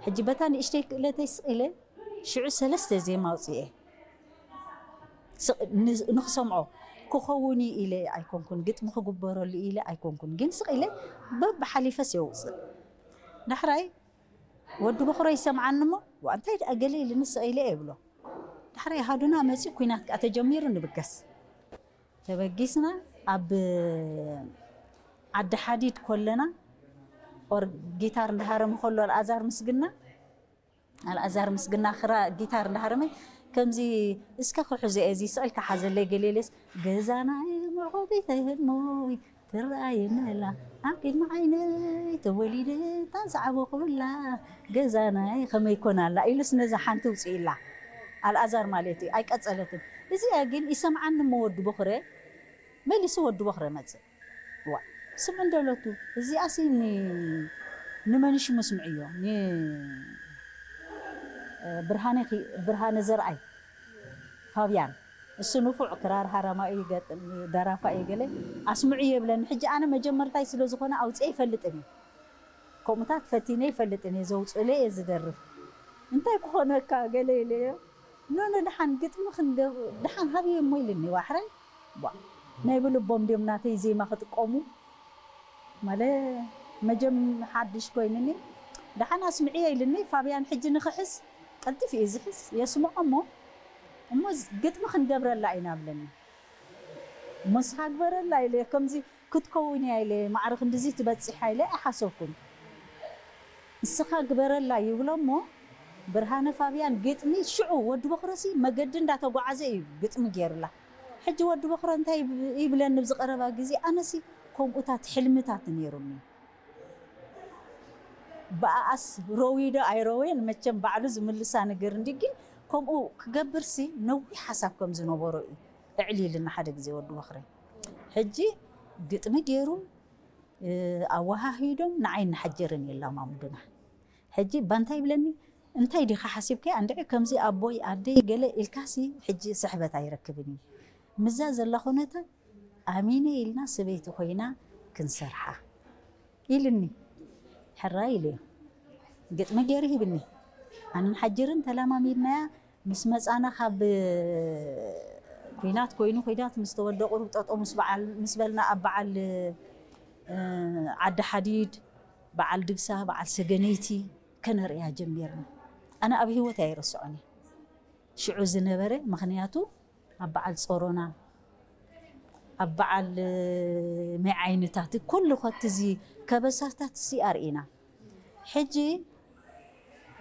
ሕጂ በታ ንእሽተይ ክእለተይ ስቕ ኢለ ሽዑ ሰለስተ ዜማ ኣውፅኤ። ንክሰምዖ ክኸውን እዩ ኢለ ኣይኮንኩን፣ ግጥሚ ክግበረሉ ኢለ ኣይኮንኩን፣ ግን ስቕ ኢለ በብሓሊፈስ የውፅእ። ዳሕራይ ወዲ በኽሮ ይሰምዓኒ እሞ፣ "ዋ፣ እንታይ ደኣ ገለ ኢልኒ ስቕ ኢለ?" እየ ብሎ። ዳሕራይ ኣሃዱና መፂኡ፣ ኲናት ከዓ ተጀሚሩ። ንብገስ ተበጊስና፣ ኣብ ዓዲ ሓዲድ ኮለና፣ ኦር ጊታር እንዳሃረመ ከሎ ኣልኣዛር ምስግና፣ ኣልኣዛር ምስግና ክራ ጊታር እንዳሃረመ ከምዚ፣ "እስከ ክሕዞ እየ፣ እዚ ስቕ ኢልካ ሓዘለይ" ገለ ኢለስ፣ "ገዛናይ ምዕቆቢተይ ህድሞይ ትረኣየኒ ኣላ፣ ኣብ ቅድሚ ዓይነይ ተወሊደ ታንሳዕቦ ክብላ፣ ገዛናይ ከመይ ኮን ኣላ" ኢሉስ ነዛ ሓንቲ ውፅኢላ። ኣልኣዛር ማለት እዩ። ኣይቀፀለትን። እዚኣ ግን ይሰምዓኒ እሞ ወዲ ቦኽረ፣ መሊሱ ወዲ ቦኽረ መፅእ። "ዋ፣ ስምዒ እንደለቱ፣ እዚኣሲ ን-፣ ንመንሽ መስምዕዮ፣ ን-፣ ብርሃነ ኪ-፣ ብርሃነ ዘርኣይ፣ ፋብያን፣ እሱ ንፉዕ ክራር ሃራማይ ይገጥም፣ ደራፋይ እዩ ገለ፣ ኣስምዑ" የብለኒ። ሕጂ ኣነ መጀመርታይ ስለ ዝኾነ ኣውፅኤ ይፈልጥን እየ። ከምኡታት ፈቲነ ይፈልጥን እየ፣ ዘውፅእለ እየ ዝደርፍ። "እንታይ ክኾነካ?" ገለ ኢለዮ። "ኖ፣ ኖ፣ ደሓን ግጥሚ ክንገብ-፣ ደሓን ሃብዮ እሞ" ኢልኒ ዋሕራይ። ቧ፣ ናይ ብልቦም ድዮም ናተይ ዜማ ክጥቀሙ? ማለ መጀም ሓድሽ ኮይንኒ፣ "ደሓን ኣስምዕዮ" ኢልኒ። ፋብያን ሕጂ ንኽሕዝ ቀልጢፉ እዩ ዝሕዝ፣ የስምዖ እሞ፣ "እሞ ዝ-፣ ግጥሚ ክንገብረላ ኢና" ብለኒ። "እሞ ንስኻ ግበረላ" ኢለ፣ ከምዚ ክትከውን እያ ኢለ፣ ማዕረ ክንድዚ ትበጽሕ ኢለ ኣይሓሰብኩን። "ንስኻ ግበረላ" ይብሎ እሞ፣ ብርሃነ ፋብያን ግጥሚ ሽዑ፣ ወዲ በኽረሲ መገዲ እንዳተጓዓዘ እዩ ግጥሚ ገይርላ። ሕጂ ወዲ በኽረ እንታይ ይብ-፣ ይብለኒ ኣብዚ ቀረባ ግዜ፣ ኣነሲ ከምኡታት ሕልምታት ነይሩኒ። ብኣኣስ ረዊዶ ኣይረወየን፣ መቸም ባዕሉ ዝምልሳ ነገር እንዲ፣ ግን ከምኡ ክገብርሲ ነዊሕ ሓሳብ ከም ዝነበሮ እዩ እዕሊልና ሓደ ግዜ ወዲ በኽረ። ሕጂ ግጥሚ ገይሩ፣ እ፣ ኣወሃሂዶም ንዓይ እናሓጀርን የላማምዱና። ሕጂ ባንታ ይብለኒ፣ "እንታይ ዲኻ ሓሲብካያ እንድዒ ከምዚ ኣቦይ ኣደይ ገለ?" ኢልካሲ ሕጂ ስሕበት ኣይረክብን እዩ። ምስዛ ዘላ ኩነታት ኣሚነ ኢልና ሰበይቲ ኮይና ክንሰርሓ ኢልኒ። ሕራይ ኢለዮ። ግጥሚ ገይሩ ሂብኒ። ኣነን ሓጅርን ተላማሚድናያ። ምስ መጻና ካብ ኲናት ኮይኑ፣ ኲናት ምስ ተወደ ቁሩብ ጠጠው ምስ በዓል፣ ምስ በልና ኣብ በዓል፣ እ፣ ዓዲ ሓዲድ፣ በዓል ድግሳ፣ በዓል ሰገነይቲ ከነርእያ ጀሚርና። ኣነ ኣብ ህይወት ኣይረስዖን እየ። ሽዑ ዝነበረ፣ ምኽንያቱ ኣብ በዓል ጾሮና፣ ኣብ በዓል፣ እ፣ መይ ዓይነታት፣ ኩሉ ኸቲ እዚ ከበሳታት ሲ ኣርኢና። ሕጂ፣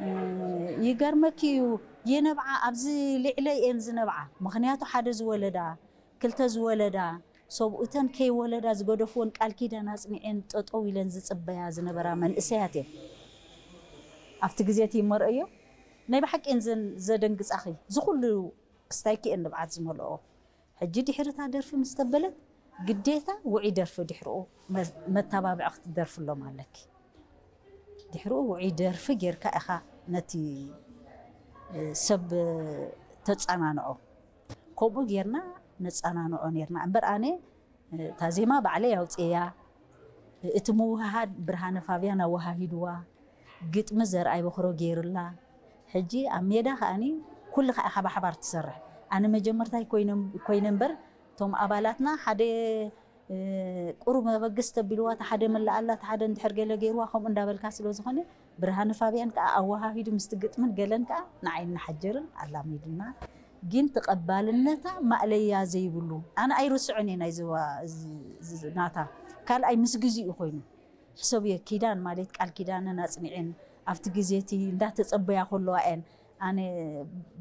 እ፣ ይገርመኪ እዩ፣ የነብዓ ኣብዚ ልዕለይ እየን ዝነብዓ። ምኽንያቱ ሓደ ዝወለዳ፣ ክልተ ዝወለዳ፣ ሰብኡተን ከይወለዳ ዝገደፍወን ቃል ኪዳን ኣጽኒዐን ጠጠው ኢለን ዝጽበያ ዝነበራ መንእሰያት እየን። ኣብቲ ግዜ እቲ ይመርአዮ፣ ናይ ብሓቂ እየን ዘን-፣ ዘደንግጻኺ። ዝኹሉ ክስታይኪ እየን ንብዓት ዝመልኦ። ሕጂ ድሕሪ እታ ደርፊ ምስ ተበለት፣ ግዴታ ውዑይ ደርፊ ድሕርኡ መ-፣ መተባብዒ ክትደርፍሎም ኣለኪ። ድሕርኡ ውዑይ ደርፊ ጌርካ ኢኻ ነቲ፣ እ፣ ሰብ፣ እ፣ ተጸናንዖ። ከምኡ ጌርና ነጸናንዖ ኔርና። እምበር ኣነ፣ እ፣ እታ ዜማ ባዕለይ ኣውጽኤያ። እቲ ምውህሃድ ብርሃነ ፋብያን ኣወሃሂድዋ። ግጥሚ ዘርኣይ በኽሮ ጌርላ። ሕጂ ኣብ ሜዳ ከኣኒ ኩልኻ ኢኻ ብሓባር ትሰርሕ። ኣነ መጀመርታይ ኮይነ፣ ኮይነ እምበር፣ እቶም ኣባላትና ሓደ፣ እ፣ ቁሩብ መበገስ ተቢልዋ፣ እቲ ሓደ መላኣላ፣ እቲ ሓደ እንድሕር ገለ ገይርዋ፣ ከምኡ እንዳበልካ ስለ ዝኾነ፣ ብርሃነ ፋብያን ከኣ ኣወሃሂዱ ምስቲ ግጥምን ገለን ከኣ ንዓይ እናሓጀርን ኣላሚድና። ግን ተቐባልነታ ማእለያ ዘይብሉ፣ ኣነ ኣይርስዖን እየ ናይዚ ዋ-፣ እዚ፣ እዚ ናታ። ካልኣይ ምስ ግዜኡ ኮይኑ። ሕሰብዮ፣ ኪዳን ማለት ቃል ኪዳነን ኣጽኒዐን፣ ኣብቲ ግዜ እቲ እንዳተጸበያ ከለዋ እየን፣ ኣነ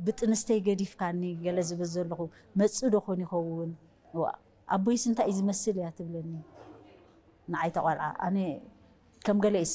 ብጥንስተይ ገዲፍካኒ ገለ ዝብል ዘለኹ፣ መጽእ ዶ ኾን ይኸውን? ዋ፣ ኣቦይስ እንታይ እዩ ዝመስል እያ ትብለኒ። ንዓይ እታ ቆልዓ፣ ኣነ ከም ገለ ይስምዓኒ።